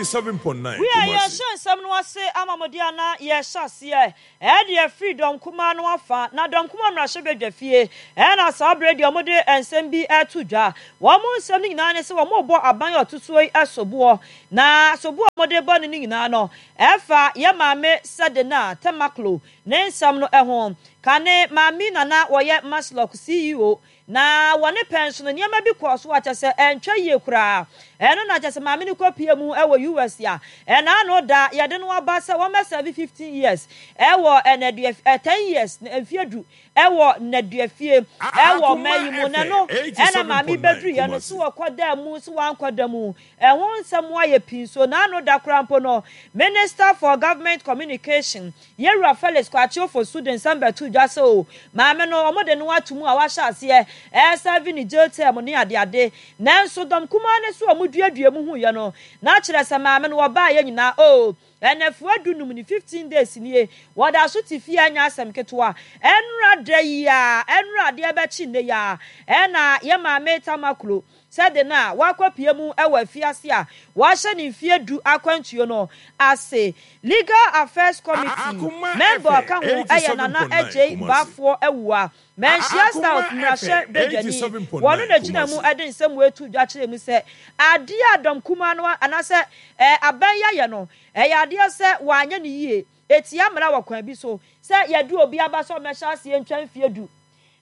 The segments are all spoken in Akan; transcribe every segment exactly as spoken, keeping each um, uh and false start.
Eighty-seven point nine. Wi a yɛhyɛ nsɛm no ase ama mo deɛ na yɛhyɛ aseɛ ɛde afiri dɔm kumaa no afa na dɔm kumaa mmarahyɛbadwa fie ɛna saa berɛ deɛ wɔde nsɛm bi ɛto dwa. Wɔn mo nsɛm no nyinaa ne sɛ wɔn bɔ aban ɔtotoɔ yi soboɔ, na soboɔ a wɔde bɔ no no nyinaa no ɛfa yɛ maame Sedina Tamakloe ne nsɛm no ɛho. Kane maame nana wɔyɛ MASLOC C E O na wɔne pɛn so no nneɛma bi kɔɔ so akyɛ sɛ ɛntwa yie koraa. Ɛno na kyɛ sɛ maame no kɔpie mu ɛwɔ U S a ɛna no da yɛde no aba sɛ wɔmɛsɛbe fifteen years ɛwɔ ɛnɛdua ɛ ten years mfie du ɛwɔ nnaduafie ɛwɔ ɔman yi mu. Na no ɛna maame bɛduru yɛ no so wɔkɔ da mu so wankɔ da mu, ɛho nsɛm ayɛ pii. So n'ano da koraa mpo no, Minister for Government Communication, Yɛwura Felix Kwakye Ofosu, de nsɛm bɛto dwa sɛ o maame no ɔmo de no ato mu a wahyɛ aseɛ ɛsɛbi ne jail term ne adeade. Nanso dɔm kumaa ne so a ɔmo duadua mu hu yɛ no na kyerɛ sɛ maame no wɔbaa yɛ nyinaa o ɛnɛfoɔ dunum ne fifteen days nie wɔda so te fie. Anya asɛm ketewa ɛnura da yi a ɛnura adeɛ bɛkyi nne yi a ɛna yɛ maame Tamakloe sɛde no a wakɔpie mu wɔ afiase a wahyɛ ne mfie du akwantuo no ase. Legal Affairs Committee member ɔka ho ɛyɛ Nana Agyei Baafoɔ Awua, Manhyia South mmarahyɛ badwani. Wɔno na gyina mu de nsɛm etu dwa kyerɛ mu sɛ adeɛ a dɔm kumaa no anaasɛ ɛɛ aban yɛayɛ no ɛyɛ adeɛ sɛ wanyɛ ne yie, etia mmara wɔ kwan bi so sɛ yɛde obi aba sɛ ɔmɛhyɛ aseɛ ntwa mfie du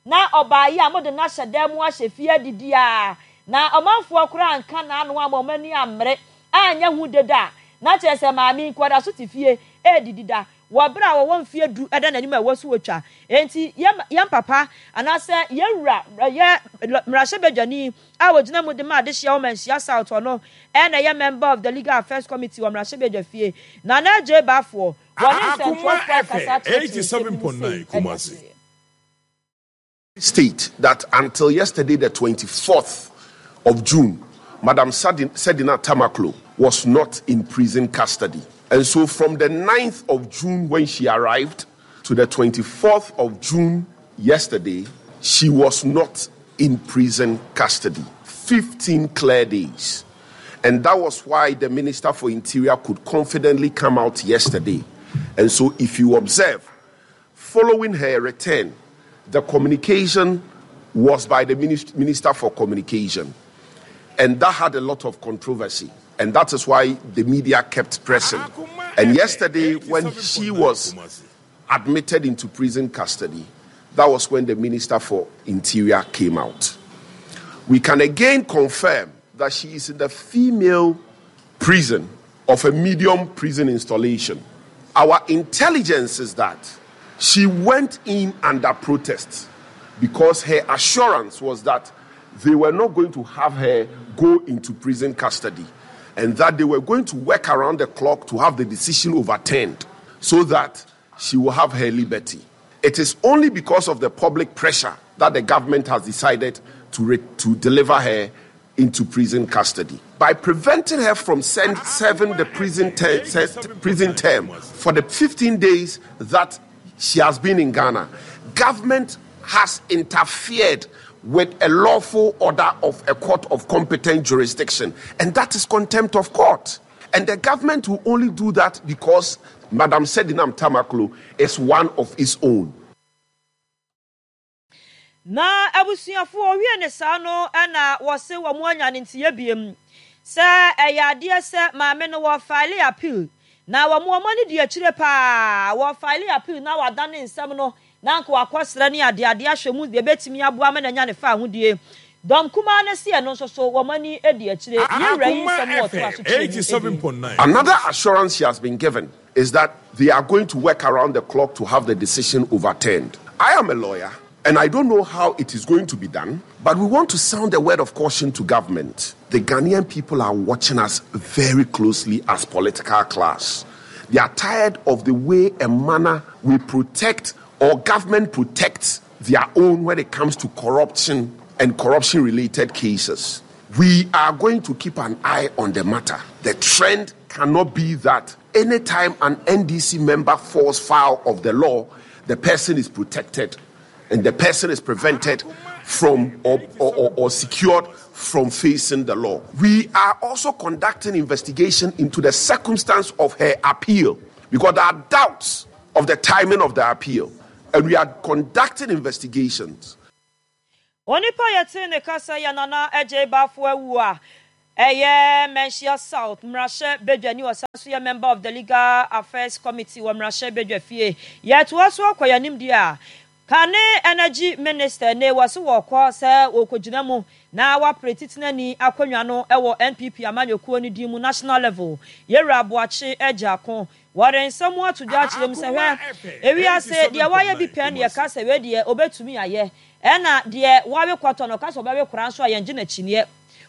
na ɔbaa yi a mode no ahyɛ dan mu ahyɛ fie adidi a na ɔmanfoɔ koraa nka n'ano ama ɔmo ani ammere anyɛ ho deda a na kyerɛ sɛ maame nkɔda so te fie ɛredidi da wɔ berɛ a wɔwɔ mfie du ɛda n'anim a ɛwɔ so wɔtwa. Enti yɛn papa anaasɛ yɛn wura yɛ mmarahyɛbadwani a wɔgyina mu de ma adehyia wɔ Manhyia South, ɔno ɛna ɛyɛ member of the Legal Affairs Committee wɔ mmarahyɛbadwa fie, Nana Agyei Baafoɔ, wɔne nsɛntwerɛfoɔ akasa akyerɛkyerɛ nsɛm bi mu sei ɛde akyerɛ. State that until yesterday, the twenty-fourth of June, Madam Sedina Tamakloe was not in prison custody. And so from the ninth of June, when she arrived, to the twenty-fourth of June yesterday, she was not in prison custody. fifteen clear days. And that was why the Minister for Interior could confidently come out yesterday. And so if you observe, following her return, the communication was by the Minister for Communication. And that had a lot of controversy. And that is why the media kept pressing. And yesterday, when she was admitted into prison custody, that was when the Minister for Interior came out. We can again confirm that she is in the female prison of a medium prison installation. Our intelligence is that she went in under protest because her assurance was that they were not going to have her go into prison custody and that they were going to work around the clock to have the decision overturned so that she will have her liberty. It is only because of the public pressure that the government has decided to, re- to deliver her into prison custody. By preventing her from send, serving the prison, ter- prison term for the fifteen days that she has been in Ghana, government has interfered with a lawful order of a court of competent jurisdiction, and that is contempt of court. And the government will only do that because Madam Sedinam Tamakloe is one of its own. Na abusuafoɔ wie ne saa no ɛna wɔse wɔn anya ne ntiyɛ biem sɛ ɛyɛ adeɛ sɛ maame no wɔ file appeal na wɔn wɔn ani di akyire paa. Wɔ file appeal na wadane nsɛm no na nka wakɔsrɛ ne adeade ahwɛ mu deɛ ebɛtumi aboa ma n'anya ne fa ahodie. Dɔm kumaa no si ɛno nso so wɔn ani di akyire. Yɛwura yi nsɛm wɔ to aso kyerɛ mu. Another assurance she has been given is that they are going to work around the clock to have the decision overturned. I am a lawyer and I don't know how it is going to be done, but we want to sound a word of caution to government. The Ghanaian people are watching us very closely as political class. They are tired of the way and manner we protect or government protects their own when it comes to corruption and corruption related cases. We are going to keep an eye on the matter. The trend cannot be that anytime an N D C member falls foul of the law, the person is protected and the person is prevented from from or, or, or, or secured from facing the law. We are also conducting investigation into the circumstance of her appeal, because there are doubts of the timing of the appeal, and we are conducting investigations. Onipa yɛte ne kasa yɛ Nana Agyei Baffour Awuah ɛyɛ Manhyia South mmarahyɛ badwani, ɔsan so yɛ member of the Legal Affairs Committee wɔ mmarahyɛ badwa fie. Yɛtoa so akɔ yɛn anim deɛ a, kane Energy Minister ne wɔ so wɔkɔ sɛ wɔkɔgyina mu na wapere titenani akonnwa no wɔ N P P amanyɔkuo no din mu national level. Yɛwura Aboakye Agyarko wɔde nsɛm ato dwa akyerɛ mu sɛ, hwɛ, ewiase deɛ wayɛ bi pɛn deɛ ka sɛ wei deɛ obɛtumi ayɛ, ɛna deɛ wawe kɔtɔ no ka sɛ ɔbɛwe kora nso a, yɛngye n'akyiniɛ.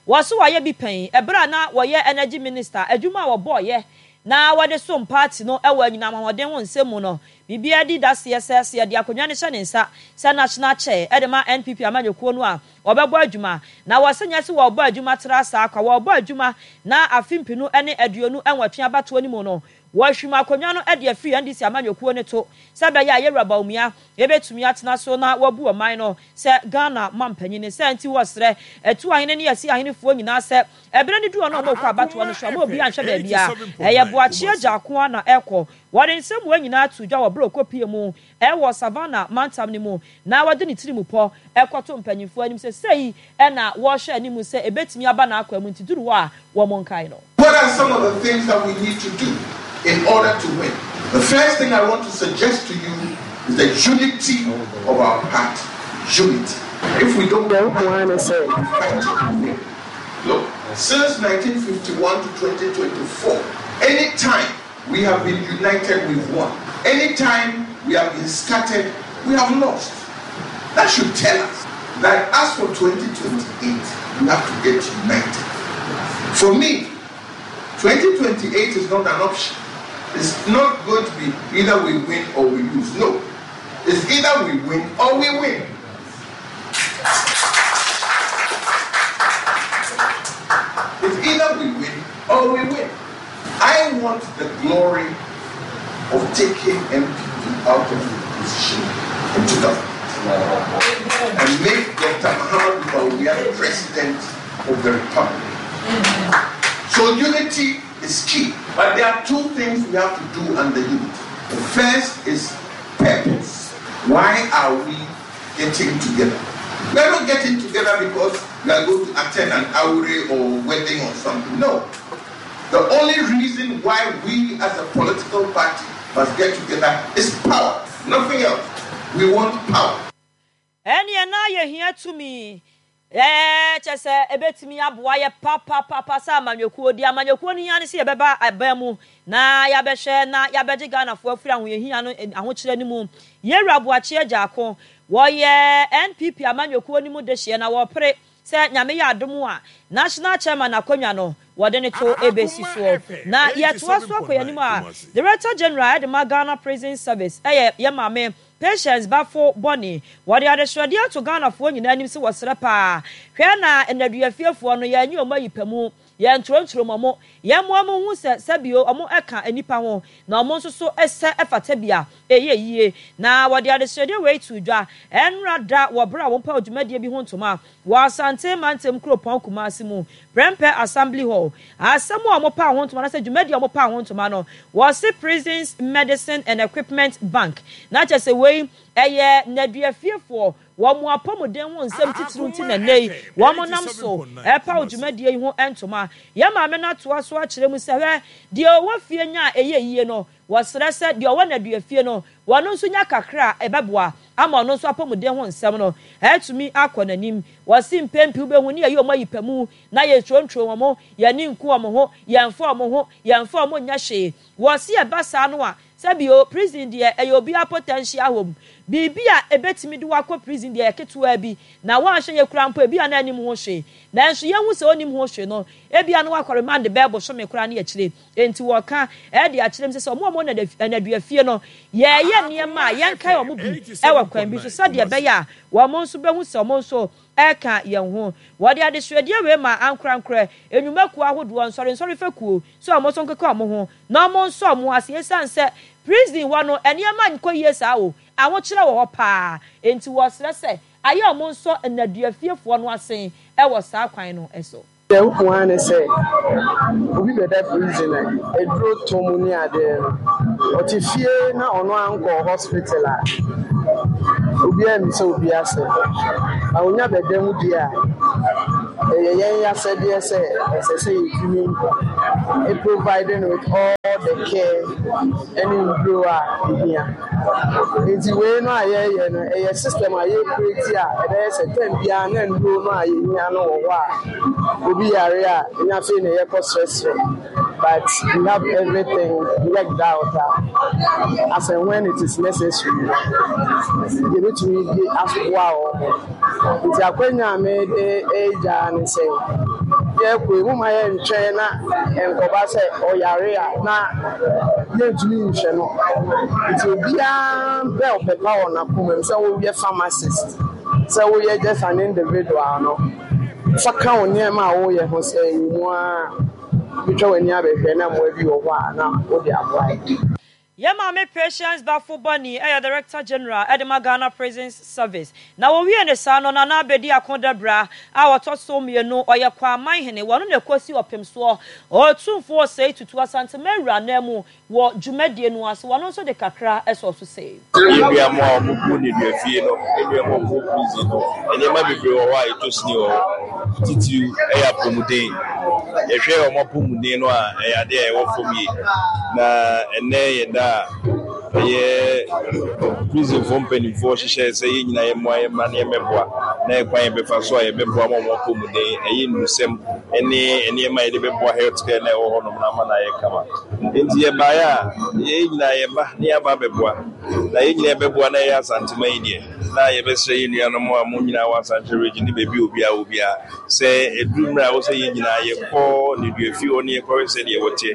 Wɔso wayɛ bi pɛn ɛberɛ a na wɔyɛ Energy Minister, adwuma a wɔbɔɔyɛ na wɔde som party no wɔ anyinam ahoɔden ho nsɛm mu no, biribiara di daseɛ sɛ sɛ yɛde akonnwa no hyɛ ne nsa sɛ national chair ɛde ma N P P amanyɔkuo no a, wɔbɛbɔ adwuma. Na wɔsɛ nyɛ sɛ wɔrebɔ adwuma tra saa kwa, wɔrebɔ adwuma na afe mpinu ne aduonu nwɔtwe abatoɔ no mu no, wɔahwim akonnwa no de afiri N D C amanyɔkuo no to sɛ ɛbɛyɛ a yɛwura Bawumia yɛbɛtumi atena so na wabu ɔman no sɛ Ghana mampanyin. Sɛ nti wɔsrɛ ɛtu ahene ne yɛsi ahenefoɔ nyinaa sɛ ɛberɛ no du ɔno a ɔmɔkɔ abatoɔ no so a, ma obi anhwɛ baabi a ɛyɛ Boakye Agyarko a na ɛkɔ. Wɔde nsɛm wɔn nyinaa to dwa wɔ berɛ ɔkɔpie mu ɛwɔ Savannah mantam no mu na wɔde ne tiri mu pɔ ɛkɔto mpanyinfoɔ anim sɛ sei ɛna wɔrehwɛ anim sɛ ɛbɛtumi aba n'akwan mu, nti duru hɔ a wɔn nkae no. What are some of the things that we need to do in order to win? The first thing I want to suggest to you is the unity of our party. Unity. If we don't fight to win. Look, since nineteen fifty-one to twenty twenty-four, anytime we have been united, we've won. Anytime we have been scattered, we have lost. That should tell us that as for twenty twenty-eight, we have to get united. For me, twenty twenty-eight is not an option. It's not going to be either we win or we lose. No. It's either we win or we win. It's either we win or we win. I want the glory of taking N P P out of the position into government and make Doctor Muhammad Bawumia the president of the republic. So unity is key. But there are two things we have to do under unity. The first is purpose. Why are we getting together? We are not getting together because we are going to attend an awure or wedding or something. No. The only reason why we as a political party must get together is power. Nothing else. We want power. Ɛneɛ na yɛhia tumi, ɛɛ kyɛ sɛ ɛbɛtumi aboa yɛ papapapa sɛ amanyɔkuo di amanyɔkuo no hia ne sɛ yɛbɛba aban mu na yɛabɛhwɛ na yɛabɛgye Ghanafoɔ afiri ahoyɛhia no ahokyerɛ no mu. Yɛwura Aboakye Agyarko, wɔyɛ N P P amanyɔkuo no mu de hyeɛ na wɔpere sɛ Nyame yɛ adom a, national chairman akonnwa no wɔde ne to ebesi soɔ. Na yɛtoa so akɔ yɛn anim a, Director General ɛde ma Ghana Prison Service, ɛyɛ yɛ maame Patience Baffoe Bonnie, wɔde adesrɛdeɛ ato Ghanafoɔ nyinaa anim sɛ wɔsrɛ paa, hwɛ na nnaduafiefoɔ no yɛnyɛ ɔmo ayi pɛ mu, yɛn ntorɔntoro ɔmo, yɛn mmoa mo hu sɛ sɛbio ɔmo ɛka nipa ho na ɔmo nso so ɛsɛ ɛfata bi a ɛyɛ yie. Na wɔde adesrɛdeɛ wei to dwa ɛnra da wɔ berɛ a wɔmpa dwumadie bi ho ntoma wɔ Asante mantam kuropɔn Kumase mu, Prempeh Assembly Hall. Asɛm a wɔpa ho ntoma na sɛ dwumadie a wɔpa ho ntoma no, wɔse Prisons Medicine and Equipment Bank, na kyerɛ sɛ wei ɛyɛ nnaduafiefoɔ wɔn mo apɔmuden ho nsɛm titiriw, nti na nne yi wɔn nam so ɛpa dwumadie yi ho ntoma. Yɛn maame no atoa so akyerɛ mu sɛ, hwɛ, deɛ ɔwɔ fie nya a ɛyɛ yie no, wɔsrɛ sɛ deɛ ɔwɔ nnaduafie no, wɔn nso nya kakra a ɛbɛboa ama ɔno nso apɔmuden ho nsɛm no ɛtumi akɔ n'anim. Wɔsi mpɛn pii wobɛhu ne yɛyɛ wɔn ayi pɛ mu na yɛturonturo wɔn, yɛne nku wɔn ho, yɛmfa wɔn ho, yɛmfa wɔn nyɛ hwee. Wɔsi ɛba saa no a, sɛbio prison deɛ ɛyɛ obiara potential home. Biribi a ebetumi de wakɔ prison deɛ, yɛ ketewa bi na wɔanhwɛ yɛ kura mpo, ebi a na anim ho hwee, nanso yɛn ho sɛ onim ho hwee no, ebi a na wakɔ remand bɛɛ bosome koraa ne akyire. Nti wɔka ɛde akyerɛ mu sɛ sɛ ɔmo a ɔmo nnaduafie no, yɛyɛ nneɛma a yɛnkae ɔmo bi ɛwɔ kwan bi so sɛdeɛ ɛbɛyɛ a wɔn nso bɛhu sɛ ɔmo nso ɛka yɛn ho. Wɔde adesuadeɛ wei ma ankorankorɛ, enwumakuo ahodoɔ, nsɔre fɛkuo sɛ ɔmo nso nkeka ɔmo ho na ɔmo nso ɔmo ase, esiane sɛ prison hɔ no nneɛma nkɔ yie saa o, ahokyerɛ wɔ hɔ paa. Nti wɔsrɛ sɛ Ayɛ wɔn nsɔ nneduafiefoɔ no asen wɔ saa kwan no so. Deɛ wohu ara ne sɛ obi bɛda prison a aduro tɔ mu ne adeɛ no, ɔte fie na ɔno ankɔ hospital a, obiara mmisa obi asɛm. Na onya bɛda mu deɛ a, ɛyɛ yɛn asɛdeɛ sɛ ɛsɛ sɛ yɛtumi provide no with all the care ne nnuro a ɛhia. Nti wei no a yɛreyɛ no, ɛyɛ system a yɛrecreate a ɛbɛyɛ sɛ term biara na nnuro no a yɛhia no wɔ hɔ a, obi yare a, ɛnyɛ afei na yɛkɔsrɛsrɛ. But we have everything worked out a, as and when it is necessary no, yɛbɛtumi de aboa wɔn. Nti akwanya a mede regya ne sɛ, yɛrekɔ yi, momma yɛntwɛn na nkɔba sɛ ɔyare a na yɛntumi nhwɛ no. Nti obiara mpɛ ɔpɛ pa wɔ n'akoma mu sɛ woyɛ pharmacist, sɛ woyɛ just an individual no, fa ka wo nneɛma a woyɛ ho sɛ ɛwɔ mu ara wobɛtwa w'ani abɛhwɛ na mmoa bi wɔ hɔ a na wode aboa yɛn. Yɛn maame Patience Baffoe Bonnie yɛ Director General de ma Ghana Prisons Service. Na wɔwiee no saa no, Nana Abedi Ako Dabra a ɔtɔ so mmienu, ɔyɛ Kwaman Hene, wɔno na ɛkɔsi ɔpem soɔ, Otumfoɔ Osei Tutu Asantema Awura ananmu wɔ dwumadie no ase, wɔno nso de kakra sɔɔ so sei. Yɛn nua mo a wɔn gu nneduafie no, yɛn nua mo a wɔn wɔ prison no, nneɛma bebree wɔ hɔ a ɛtɔ sini wɔ hɔ. Titiriw ɛyɛ apɔmuden. Yɛhwɛ wɔn apɔmuden no a, ɛyɛ adeɛ a ɛwɔ fam yie. Na ɛnnɛ yɛ da a ɛyɛ prisonfoɔ mpanimfoɔ hyehyɛ sɛ yɛn nyinaa yɛmmoa yɛn mma na yɛmmɛboa na ɛkwan yɛbɛfa so a yɛbɛboa ma wɔn apɔmuden ɛyɛ nnurusɛm ne nneɛma a yɛde bɛboa health care na ɛwɔ hɔnom na ama no ayɛ kama. Nti yɛbaeɛ a yɛn nyinaa yɛba na yɛaba abɛboa. Na yɛn nyinaa yɛbɛboa na ɛyɛ Asantema yi deɛ, na yɛbɛsrɛ yɛn nuanom a mo nyinaa wɔ Asante region ne baabi a obiara wɔ biara sɛ ɛduru mmerɛ a ɛwɔ sɛ yɛn nyinaa yɛkɔ nneduafie hɔ ne yɛkɔhwɛ sɛdeɛ wɔteɛ.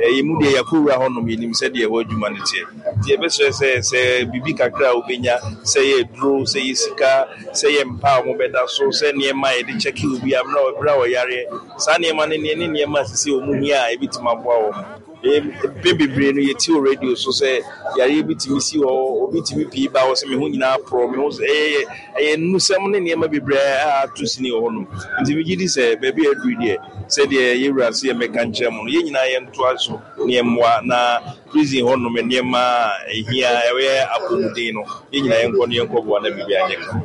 Yɛn mu deɛ yɛakɔwura hɔnom, yɛnim sɛdeɛ ɛhɔ adwuma no teɛ. Nti yɛbɛsrɛ sɛ sɛ biribi kakra a wobɛnya, sɛ ɛyɛ aduro, sɛ ɛyɛ sika, sɛ ɛyɛ mpa a wɔbɛda so, sɛ nneɛma a yɛde kyɛke obi a berɛ a ɔyareɛ, saa nneɛma no ne nneɛma a ɛsɛ sɛ wɔn hia a ɛbɛtumi aboa wɔn. Mpɛn bebree no yɛte wɔ radio so sɛ yareɛ bi tumi si hɔ, obi tumi pii ba hɔ sɛ me ho nyinaa porɔ, me ho ɛyɛ ɛyɛ nnusɛm ne nneɛma bebree a ato sini wɔ hɔnom. Nti megye di sɛ baabi a aduru deɛ, sɛdeɛ yɛwura se yɛmmɛka nkyerɛ mo no, yɛn nyinaa yɛntoa so ne yɛmmoa na prison hɔnom nneɛma a ɛhia ɛyɛ apɔmuden no, yɛn nyinaa yɛnkɔ ne yɛnkɔboa na biribi anyɛ kama.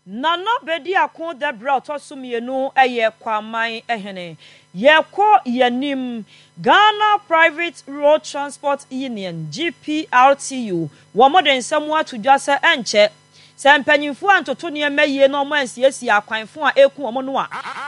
Nana Bediako Dɛbrɛ a ɔtɔ so mmienu yɛ Kwaman hene. Yɛkɔ yɛnim. Ghana Private Road Transport Union, G P R T U, wɔn de nsɛm ato dwa sɛ ɛnkyɛ sɛ mpanyinfoɔ antoto nneɛma yie na wɔn ansiesie akwanfo a eku wɔn no a,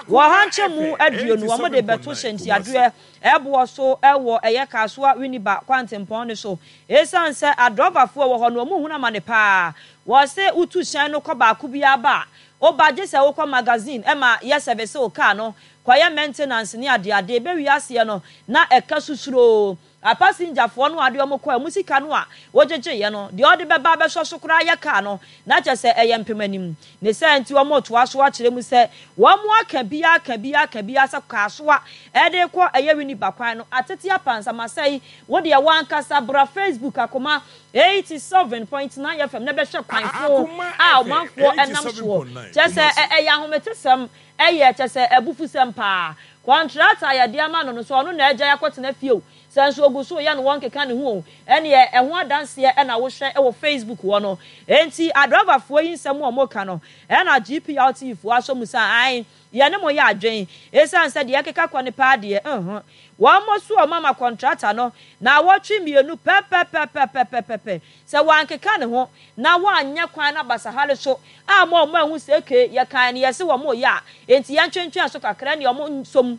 wɔ ha nkyɛn aduonu wɔn de bɛto hyɛntiadeɛ ɛboɔ so ɛwɔ ɛyɛ Kasoa Winneba kwantempɔn no so. Esiane sɛ adrɔbafoɔ wɔ hɔ no, wɔn hunu amane paa. Wɔse wotu hyɛn no kɔ baako bi aba a, woba gye sɛ wokɔ magazine ɛma yɛ service wo car no, kɔyɛ maintenance ne adeade. Bɛwie aseɛ no na ɛka susuro apasengyafoɔ no adeɛ ɔmo kɔ ɛmo sika no a wogyegyeeɛ no deɛ ɔde bɛba abɛsɔ so koraa yɛ car no na kyerɛ sɛ ɛyɛ mpem anim ne sɛ. Nti wɔn toa so akyerɛ mu sɛ wɔn aka bia aka bia aka bia sɛ Kasoa ɛde kɔ ɛyɛ Winneba kwan no atete apansamasɛe. Wo deɛ wankasa bra Facebook Akoma eighty-seven point nine F M na bɛhwɛ kwanfo a ɔmanfoɔ ɛnam soɔ, kyerɛ sɛ ɛyɛ ahometesɛm, ɛyɛ kyerɛ sɛ abufusɛm paa. Contractor a yɛde ama no no so ɔno na agya akɔtena fie o, sɛ nso ogu so yɛ no wɔn keka ne ho o, ɛneɛ ɛho adanseɛ ɛna wohwɛ ɛwɔ Facebook hɔ no. Enti adrɔbafoɔ yi nsɛm a wɔka no ɛna G P R T foɔ asɔ mu sɛ ae, yɛne mo yɛ adwen, ɛsiane sɛ deɛ ɛkeka kɔ ne paa deɛ nhun wɔn mo so. Ɔmo ama contractor no na awɔtwe mmienu pɛpɛpɛpɛpɛpɛ sɛ wɔankeka ne ho na wɔanyɛ kwan no abasahare so a mo a ɔmo ahu sɛ eke yɛkan no yɛse wɔn yɛ a, enti yɛntwentwɛn so kakra ne ɔmo nsom.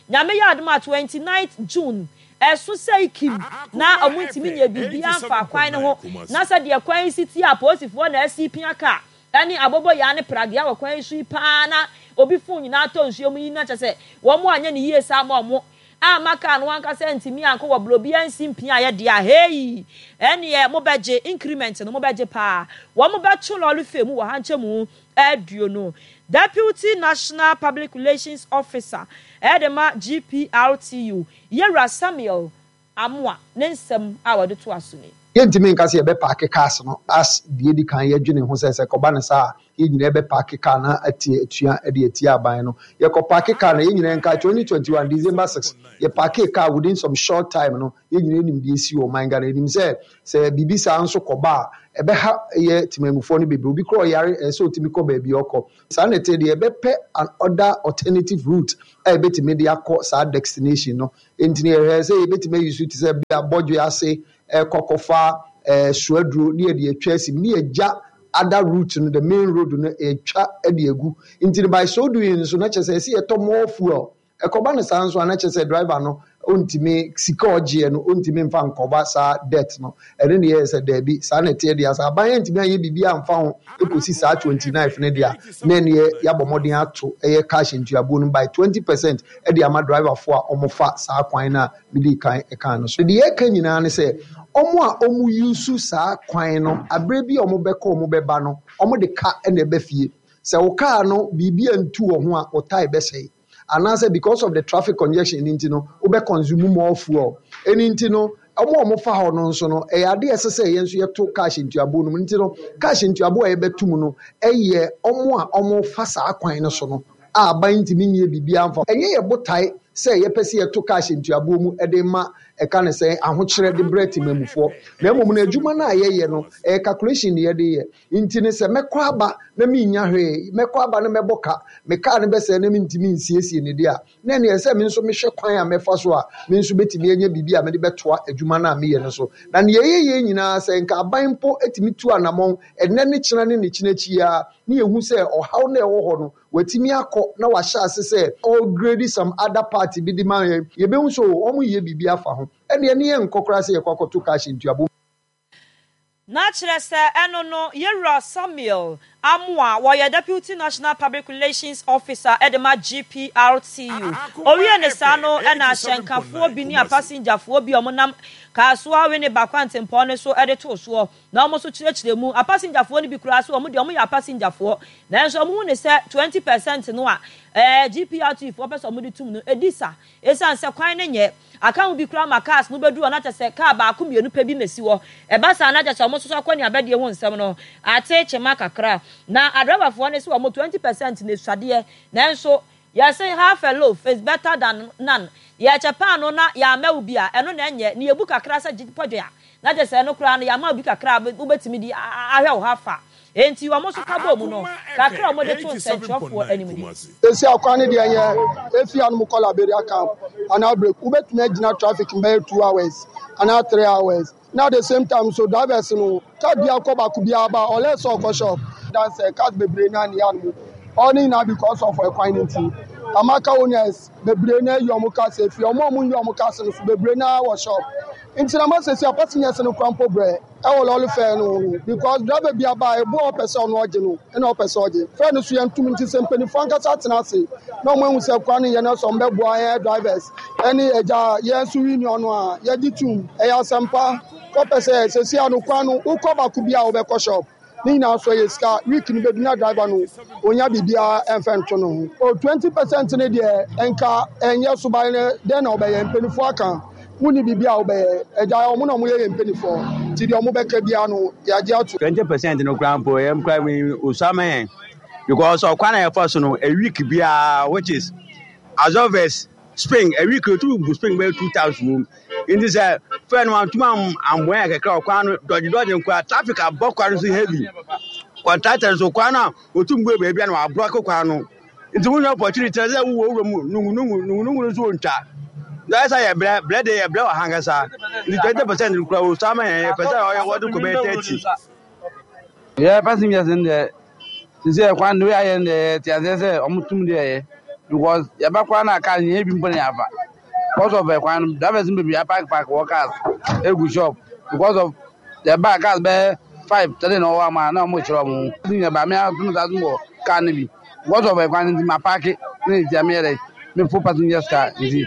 Nyame yɛ adom a, twenty-ninth June ɛso sɛ ikim na ɔmo ntumi nyɛ biribiara mfa kwan no ho na sɛ deɛ kwan yi si tie a, apolisifoɔ na asi pia kaa ɛne aboboyaa ne pragea wɔ kwan yi so yi paa na obi fon nyinaa tɔ nsuo mu yi, na kyɛ sɛ wɔn anyɛ ne yie saa ma ɔmo ama kaa no ankasa ntumi ankɔ wɔ buro bi ansi mpia ayɛ deɛ a, hei, ɛneɛ mobɛgye increment no, mobɛgye paa. Wɔn bɛto lorry fare mu wɔ ha nkyɛn mu aduonu. Deputy National Public Relations Officer ɛde ma G P R T U, Yɛwura Samuel Amoa, ne nsɛm a wɔde to aso ni. Yɛntumi nka sɛ yɛbɛ park cars no as deɛ di kan yɛdwene ho sɛ sɛ kɔba ne saa yɛn nyinaa bɛ park car na atie atua de atia aban no. Yɛkɔ park car no, yɛn nyinaa nka twenty twenty-one December six yɛ park car. Within some short time no, yɛn nyinaa nim deɛ esi wɔ ɔman Ghana. Yɛnim sɛ sɛ biribi saa nso kɔba a, ɛbɛha yɛ temamufoɔ no bebree. Obi kora ɔyare, ɛsɛ sɛ otumi kɔ baabi ɔkɔ. Saa na ɛte deɛ, yɛbɛpɛ an other alternative route a yɛbɛtumi de akɔ saa destination no. Nti yɛhwɛ sɛ yɛbɛtumi ayi so te sɛ bia bɔdwe ase ɛkɔ kɔfa ɛɛ suaduro ne yɛde atwa asi mu ne yɛgya other route no, the main road no, yɛtwa de agu. Nti by so doing nso na kyerɛ sɛ ɛsɛ yɛtɔ more fuel. Ɛkɔba no saa nso a, na kyerɛ sɛ driver no ɔntumi sika ɔgyeɛ no ɔntumi mfa nkɔba saa debt no. Ɛno ne yɛyɛ sɛ daabi, saa na ɛteɛ deɛ, sɛ aban yɛntumi anyɛ biribi amfa ho ɛkɔsi saa twenty-nine no deɛ a, na ɛneɛ yɛabɔ mmɔden ato ɛyɛ cash ntuabuo no by twenty percent ɛde ama driverfoɔ a ɔmofa saa kwan no a mede kan ɛkan no so. Deɛ yɛka nyinaa ne sɛ ɔmo a ɔmo use saa kwan no, aberɛ bi a ɔmo bɛkɔ ɔmo bɛba no, ɔmo de ka ɛna ɛbɛ fie. Sɛ wo kaa no biribi antu wɔ ho a, wo tyre bɛsɛe anaasɛ because of the traffic congestion nti no, wobɛ consume more fuel. Ɛni nti no, ɔmo a ɔmo fa hɔ no nso no, ɛyɛ adeɛ ɛsɛ sɛ yɛn nso yɛto cash ntuabuo no mu. Nti no, cash ntuabuo a yɛbɛto mu no, ɛyɛ ɔmo a ɔmo fa saa kwan no so no a aban ntumi nyɛ biribi amfa. Ɛnyɛ yɛ botae sɛ yɛpɛ sɛ yɛto cash ntuabuo mu ɛde ma ɛka ne sɛ ahokyerɛ de brɛ temamufoɔ, na mmom no, adwuma no a yɛyɛ no, ɛyɛ calculation ne yɛde yɛ. Nti ne sɛ mɛkɔ aba na menya hwee, mɛkɔ aba na mɛbɔ ka, me kaa no bɛsɛe na mentumi nsiesie ne deɛ a, na ɛneɛ sɛ me nso mehwɛ kwan a mɛfa so a me nso bɛtumi anya biribi a mede bɛtoa adwuma no a meyɛ no so. Na neɛ ɛyɛ yɛ nyinaa sɛ nka aban mpo atumi tu anammɔn ɛnɛ ne kyena ne ne kyena akyi a, ne yɛhu sɛ ɔhaw no ɛwɔ hɔ no, watumi akɔ na wahyɛ ase sɛ ɔgrade some other party bi de ma yɛn, yɛbɛhu sɛ wɔn yɛ biribi afa ho. Ɛdeɛ ne yɛn nkɔ koraa sɛ yɛkɔ akɔto cash ntuabo. Na kyerɛ sɛ ɛno no, yɛwura Samuel Amoa, wɔyɛ Deputy National Public Relations Officer ɛde ma G P R T U. Owie ne saa no, ɛna ahyɛnkafoɔ bi ne apasengyafoɔ bi a wɔnam Kasoa Winneba kwantempɔn no so ɛde too soɔ na wɔn nso kyerɛkyerɛ mu. Apasengyafoɔ no bi koraa so, wɔn deɛ wɔn yɛ apasengyafoɔ, nanso wɔn hu ne sɛ twenty percent no a ɛɛ G P R T U foɔ pɛ sɛ wɔn de tum no edi sa, esan sɛ kwan ne nyɛ aka ho bi koraa ma cars no bɛduru hɔ na kyerɛ sɛ kaa baako mmienu pɛ bi na esi hɔ. Ɛba saa na kyerɛ sɛ wɔn nso so akɔ ne abɛdeɛ ho nsɛm no ate kyema kakra. Na adrabafoɔ no sɛ wɔn twenty percent na esuadeɛ, nanso yɛsɛ half a loaf is better than none. Yɛkyɛ paano na yɛama wo bi a, ɛno na ɛnyɛ ne yɛbu kakra sɛ gye pɔdwe a, na kyerɛ sɛ ɛno koraa no yɛama wo bi kakra a wobɛtumi de ahwɛ wo ha fa. Enti wɔn nso ka bɔ mu no kakra a wɔde to nsɛntwerɛfoɔ anim ni. Esi akwan ne deɛ yɛ efi anum kɔ Liberia Camp anaa break, wobɛtumi agyina traffic mbɛyɛ two hours anaa three hours. Na at the same time so, drivers no, car bi akɔ baako bi aba unless ɔkɔ shop dan sɛ cars bebree na ne anum ɔne nyinaa because of ɛkwan ne ti ama car owners bebree na ayi ɔmo cars efi ɔmo a ɔmo nyi ɔmo cars no so bebree na wɔ shop. Nti na ma sɛ si a passengers no kora mpo brɛ ɛwɔ lɔɔre fare no ho, because driver bi aba a ebu a ɔpɛ sɛ ɔno ɔgye no ɛna ɔpɛ sɛ ɔgye fare no so yɛn tum. Nti sɛ mpanimfoɔ ankasa atena ase na ɔmo ehu sɛ kwan no yɛ no sɛ ɔmo bɛboa yɛn drivers ɛne agya yɛn nso union no a yɛgye tum, ɛyɛ asɛmpa. Kɔpɛ sɛ sɛsi ano kwan no wokɔ baako bi a wobɛkɔ shop ne nyinaa so yɛ sika. Week no bɛdu na driver no onya biribiara ɛmfɛ nto no ho o. Twenty percent ne deɛ nka ɛnyɛ so ban no dɛn na ɔbɛyɛ. Mpanimfoɔ aka wonni biribi a wobɛyɛ agya ɔmo na ɔmo yɛ yɛ mpanimfoɔ, nti deɛ ɔmo bɛka biara no yɛagye ato. Twenty percent no koraa mpo ɛyɛ koraa mi osama yɛn, because ɔkwan a yɛfa so no, a week biara, which is absorbers spring, a week otu bu spring bɛyɛ two times wɔ mu. Nti sɛ fɛn no antuma amboa yɛn kakra, ɔkwan no dɔgye dɔgye nkora, traffic abɔ kwan no so heavy. Contractor nso, kwan no a otum bu baabi a na wabrɔke kwan no, nti wonya opportunity sɛ wowɔ wura mu nungu nungu nungu nungu no nso wɔntwa na ɛsɛ yɛ brɛ brɛ de yɛ brɛ wɔ ha nkasa. Nti twenty percent kura wɔ sama yɛn, yɛpɛ sɛ ɔyɛ wɔde kɔ bɛyɛ thirty. Yɛ passengers no deɛ, sisi ɛkwan no ayɛ no deɛ, yɛte aseɛ sɛ ɔmo tum deɛ yɛ, because yɛba koraa na car nyɛ bi mpo na yɛafa because of ɛkwan no. Drivers no bebree apark park wɔ cars egu shop because of yɛba cars bɛyɛ five thirty na ɔwɔ ama na ɔmo kyerɛ ɔmo ho yɛ ba. Mi atum sa atum wɔ car no bi because of ɛkwan no, nti ma park ne nti ɛmi yɛ dɛ mi fo passengers car nti.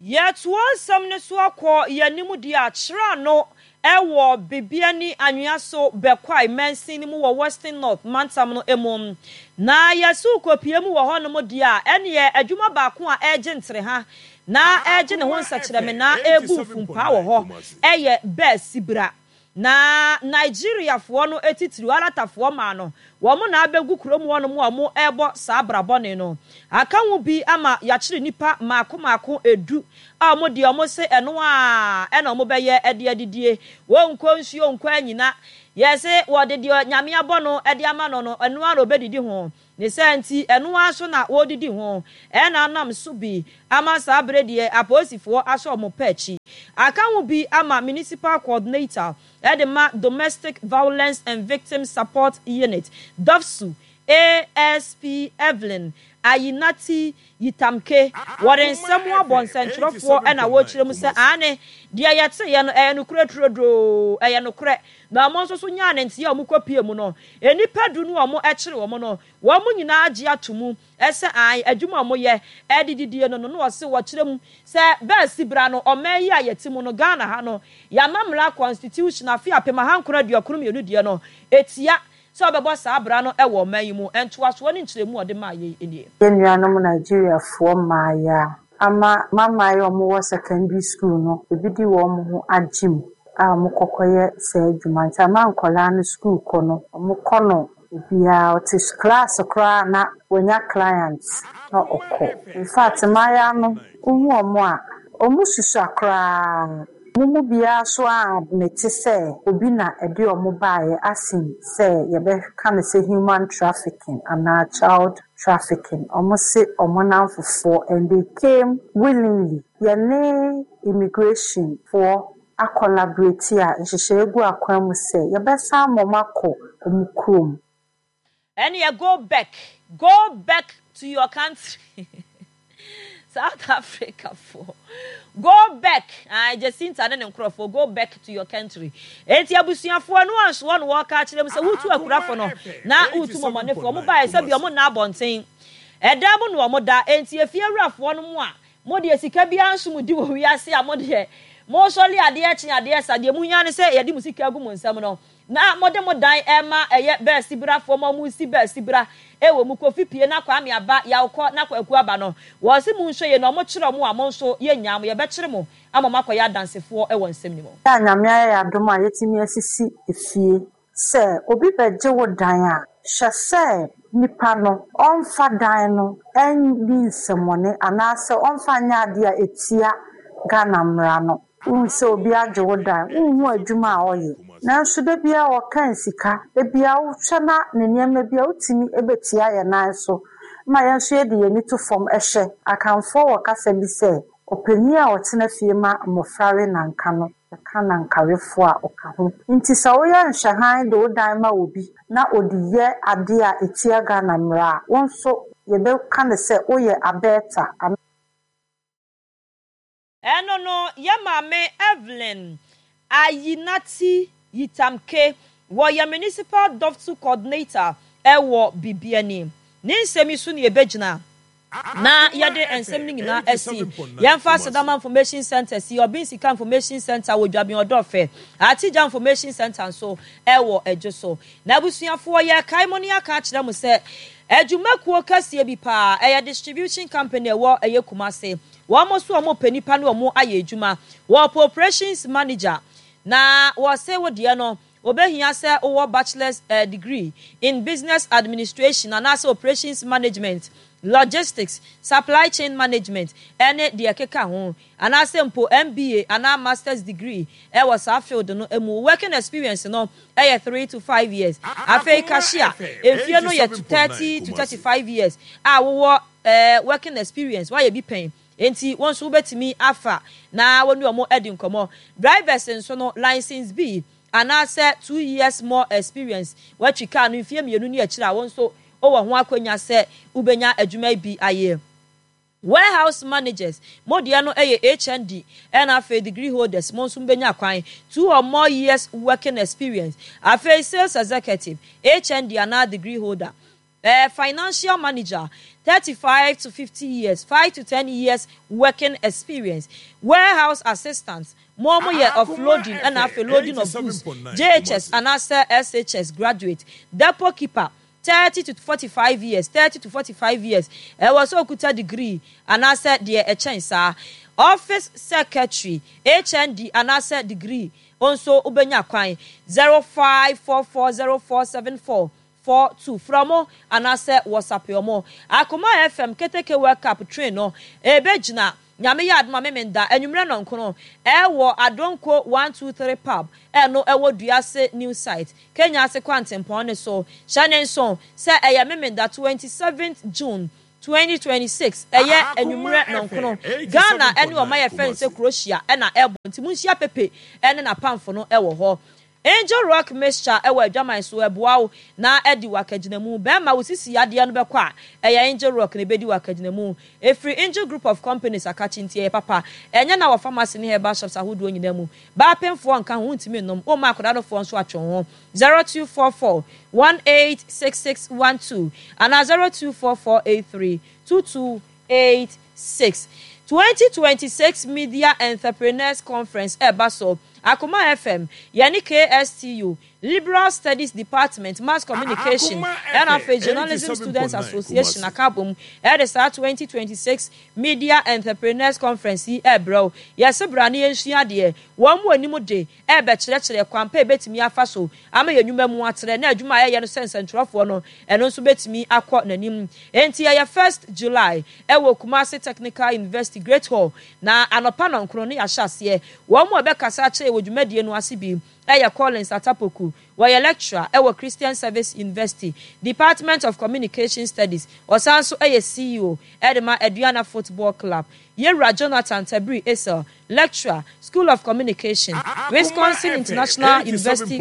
Yɛtoa nsɛm no so akɔ yɛn anim deɛ akyerɛ ano. wɔ Bibiani Anhwiaso Bekwai mansin no mu wɔ Western North mantam no mu. Na yɛse wokɔpue mu wɔ hɔnom deɛ a, ɛneɛ adwuma baako a ɛregye ntereha na ɛregye ne ho nsɛkyerɛmena regu mfumpaa wɔ hɔ yɛ bɛɛ sibra. Na Nigeriafoɔ no titiriw, Alatafoɔ mmaa no, wɔn na abɛgu kurom hɔnom a wɔrebɔ saa bra bɔne no. Aka ho bi ama yɛakyere nnipa mmaako mmaako du a wɔn deɛ wɔse ɛno ara na wɔbɛyɛ de adidie. Wɔnkɔ nsuo nkɔ anyina. Yɛse wɔde deɛ Nyame abɔ no de ama no no, ɛno ara na wɔbɛdidi ho. Ne saa nti, ɛno ara nso na wɔredidi ho. Ɛna anam so bi ama saa bere deɛ apolisifoɔ asɔ wɔn pɛ akyi. Aka ho bi ama Municipal Coordinator de ma Domestic Violence and Victim Support Unit, DOVVSU, ASP Evelyn Ayinati Yitamke. Wɔde nsɛm abɔ nsɛntwerɛfoɔ na wɔrekyerɛ mu sɛ aane, deɛ yɛteeɛ no ɛyɛ nokorɛ turodoo, ɛyɛ nokorɛ. Na wɔn nso so nyaa ne nteɛ a wɔkɔpuee mu no, nnipa du no a wɔkyere wɔn no, wɔn nyinaa gye ato mu sɛ aane, adwuma a wɔyɛ de didie no no, na wɔse wɔkyerɛ mu sɛ bɛasi bra no, ɔman yi a yɛte mu no, Ghana ha no, yɛama mmara, constitution, afe apem ahankron aduokron mmienu deɛ no, ɛtia sɛ wɔbɛbɔ saa bra no wɔ ɔman yi mu. Ntoasoɔ ne nkyerɛmu a ɔde maa yei nie. Yɛn nuanom Nigeriafoɔ mmaeɛ a ama mmammaa a wɔwɔ secondary school no, ebi de wɔn ho agye mu a wɔkɔ kɔyɛ saa adwuma. Nti ama nkwadaa no sukuu kɔ no, wɔkɔ no obiara ɔte class koraa na wanya client na ɔkɔ. In fact, mmaayewa no, wohu wɔn a, wɔsusua koraa. Wɔn mu biara nso admit sɛ obi na ɛde wɔn baeɛ asen sɛ yɛbɛka no sɛ human trafficking anaa child trafficking. Wɔse wɔn nnamfofoɔ and they came willingly. Yɛne immigration foɔ acollaborate a nhyehyɛe gu akwan mu sɛ yɛbɛsan ma wɔn akɔ wɔn kurom. Ɛneɛ go back, go back to your country. South Africa foɔ go back, ae Jacinta ne ne nkorɔfoɔ go back to your country. Enti abusuafoɔ no ansoɔ no wɔka akyerɛ mu sɛ wotu akurafo no na wotu mɔmɔnefoɔ. Ɔmo baeɛ sɛ bia ɔmo nna abɔnten, ɛdan mu na ɔmo da. Enti efie wurafoɔ no mo a mo deɛ sika biara nso mo di wɔ wiase a mo deɛ mo sɔre adeɛ kye adeɛ sa, deɛ mo hia ne sɛ yɛde mo sika agu mo nsam no na mode mo dan rema ɛyɛ bɛɛsibrafoɔ ma wɔresi bɛɛsibra wɔ mu, Kofi pie na Kwame aba, Yaw kɔ na Kwaku aba no, wɔse monhwɛ yie na wɔkyere wɔn a mo nso yɛnnyaa mo, yɛbɛkyere mo ama moakɔyɛ adansefoɔ wɔ nsɛm no mu. A Nyame ayɛ yɛn adom a yɛatumi asisi efie. Sɛ obi bɛgye wo dan a, hwɛ sɛ nipa no ɔmfa dan no nni nsɛmmɔne anaasɛ ɔmfa nyɛ adeɛ a ɛtia Ghana mmara no. Wohu sɛ obi agye wo dan, wonhu adwuma a ɔyɛ, nanso da biara ɔkan sika, da biara wohwɛ na ne nneɛma bi a wotumi bɛtia yɛn nan so ma yɛn nso yɛde yɛn ani to fam hwɛ. Akanfoɔ wɔ kasa bi sɛ, ɔpanin a ɔtena fie ma mmɔfra we nanka no, ɔka nankawefoɔ a ɔka ho. Nti sɛ woyɛ nhwɛhan de wo dan ma obi na ɔde yɛ adeɛ a ɛtia Ghana mmara a, wo nso yɛbɛka no sɛ woyɛ abɛɛta. Ɛno no, yɛ maame Evelyn Ayinati Yitamke, wɔyɛ Municipal Dɔfto Coordinator wɔ Bibiani. Ne nsɛm yi so na yɛbɛgyina na yɛde nsɛm no nyinaa asi. Yɛmfa Asedama Information Centre si Ɔben Sika Information Centre wɔ Dwaben Ɔdɔfɛ, Atigya Information Centre nso wɔ Adwo so. Na abusuafoɔ, yɛrekae mo na yɛaka akyerɛ mo sɛ adwumakuo kɛseɛ bi paa, ɛyɛ distribution company a ɛwɔ ɛyɛ Kumasi. Wɔn nso wɔn pɛ nipa ne wɔn ayɛ adwuma. Wɔpɛ operations manager. Na wɔse wo deɛ no, wɔbɛhia sɛ wowɔ bachelor's degree in business administration anaasɛ operations management, logistics, supply chain management ne deɛ ɛkeka ho, anaasɛ mpo M B A anaa master's degree wɔ saa field no mu. Wo working experience no yɛ three to five years. Afei cashier, mfie no yɛ thirty to thirty five years a wowɔ working experience, woayɛ bi pɛn, enti wo nso wobɛtumi afa na wo ne wɔn adi nkɔmmɔ. Drivers nso no, license B anaasɛ two years more experience, woatwi kaa no mfeɛ mmienu ne akyire a, wo nso wowɔ ho akwanya sɛ wobɛnya adwuma yi bi ayɛ. Warehouse managers, mo deɛ no yɛ H N D ɛna afei degree holders, mo nso mobɛnya kwan, two or more years working experience. Afei sales executive, H N D anaa degree holder. Ɛɛ Financial manager, thirty five to fifty years, five to ten years working experience, Warehouse assistant, mo a wɔyɛ offloading ɛna afei loading of goods, J H S anaasɛ S H S graduate, Depot keeper, thirty to forty five years, thirty to forty five years, ɛwɔ sɛ okuta degree anaasɛ deɛ ɛkyɛn saa, Office secretary, H N D anaasɛ degree nso wobɛnya kwan. Zero five four four zero four seven four four two, frɛ mo anaasɛ WhatsApp ɔmo. Akoma F M Keteke World Cup train no ebegyina Nyame yɛ adoma Memenda anwummerɛ nɔnkono ɛwɔ Adonko one two three Pub, ɛno ɛwɔ Duase New Site, Kenya ase kwantempɔn ne so. Hyɛ ne nso sɛ ɛyɛ Memenda twenty seventh June twenty twenty-six, ɛyɛ anwummerɛ nɔnkono. Ghana ɛne ɔma yɛ fɛn sɛ Croatia ɛna ɛbɔ, nti monhyia Pepe ɛne n'apamfo no ɛwɔ hɔ. Angel Rock mixture ɛwɔ adwaman so, ɛboa wo na ɛdi wakagyinamu. Bɛrima wo sisi adeɛ no bɛkɔ a, ɛyɛ Angel Rock na ɛbɛdi wakagyinamu. Ɛfiri Angel Group of Companies akakye, nti ɛyɛ papa. Ɛnyɛ na wɔ pharmacy ne herbal shops ahodoɔ nyinaa mu. Baapemfoɔ nka ho, wontumi nnom, womma akwadaa nofoɔ nso atwe ho. zero two four four one eight six six one two anaa zero two four four eight three two two eight six. twenty twenty-six Media Entrepreneurs Conference ɛba so. Akoma F M yɛne K S T U Liberal Studies Department, Mass Communication ɛna afei Journalism Students Association akabom ɛde saa twenty twenty-six Media Entrepreneurs Conference yi ɛbrɛw. Yɛsɛ bra ne yɛnsua adeɛ. Wɔn mu anim de ɛbɛkyerɛkyerɛ kwan pa ebɛtumi afa so ama yɛn nnwuma mu atrɛ na adwuma a yɛyɛ no sɛ nsɛntwerɛfoɔ no, ɛno nso bɛtumi akɔ n'anim. Enti ɛyɛ first July ɛwɔ Kumasi Technical University Great Hall na anɔpa nɔnkron ne yɛahyɛ aseɛ. Wɔn mu a ɛbɛkasa akyerɛ wɔ dwumadie no ase bi ɛyɛ Collins Atapoku, wɔyɛ lecturer ɛwɔ Christian Service University, Department of Communication Studies, ɔsan nso ɛyɛ C E O ɛde ma Aduana Football Club. Yɛwura Jonathan Tabiri Esel, lecturer, School of Communication, Wisconsin International University.